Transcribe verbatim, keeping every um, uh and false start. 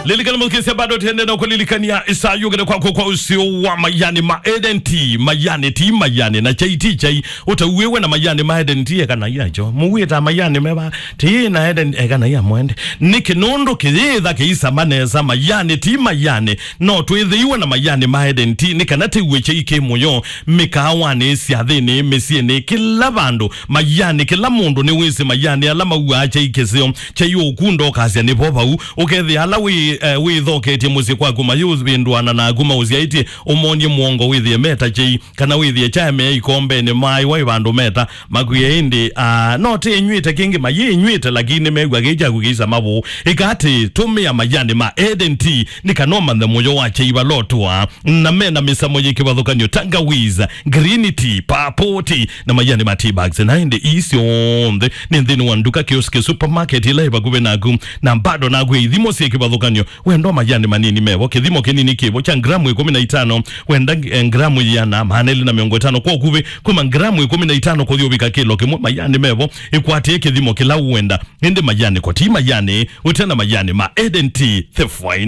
Lilikana mũthukĩĩsya, bado tũendee na kũlilikania ĩsaa yũkĩte kwaku kwa ũseo wa majani ma Eden Tea. Majani ti majani, na chai ti chai. Ũtauĩwe na majani ma Eden Tea, eka na yacho. Mũwĩta majani meva, ti na Eden, eka na ya mwende. Nĩkĩ? Nũndũ kĩyĩtha kĩisama nesa, majani ti majani. No twĩthĩiwe na majani ma Eden Tea, nĩ kana tĩw'e chai kĩ mũyo, mĩkaawanĩ, syathĩnĩ, mĩsyĩnĩ, kĩla vandũ. Majani, kĩla mũndũ nĩwĩsĩ majani ala mauaa chai kĩseo. Chai ũkunda ũkasya nĩvo vau. Ũkethĩa ala wĩ, eh, wĩthoketye mũsyĩ kwaku mayũvĩndũana naku maũsyaĩtye, ũmony'e mũongo wĩthĩe meta chai, kana wĩthĩe kyaemea ikombenĩ maaĩwa ĩ vandũ meta makwĩe ĩndĩ, ah, no tĩnyw'ĩte kĩngĩ, mayĩnyw'ĩte, lakini mew'a kĩĩ kyaku kĩisama vũũ. Ĩka atĩ, tũmĩa majani ma Eden Tea, nĩ kana ũmanthe mũyo wa chai vala ũtũaa, na mena mĩsamo yĩ kĩvathũkany'o, tangawiza, green tea, purple tea, na majani ma tea bags. Na ĩndĩ ii syonthe nĩ nthĩnĩ wa nduka, kioski, supermarket ĩla ĩ vakuvĩ naku. Na bado nakwĩ ithimo syĩ kĩvathũkany'o. Wenda majani manini mevo, kĩthimo kĩnini kĩvo kya ngramu ĩkũmi na itano, wenda, eh, ngramu ĩana, maana elĩ na mĩongo ĩtano kwa ũkuvĩ, kuma ngramu ĩkũmi na itano kũthi ũvika kĩlo kĩmwe. Majani mevo, ĩkwatĩe kĩthimo kĩla ũwenda. Ĩndĩ majani ko ti majani ũte na majani ma Eden Tea, the finest.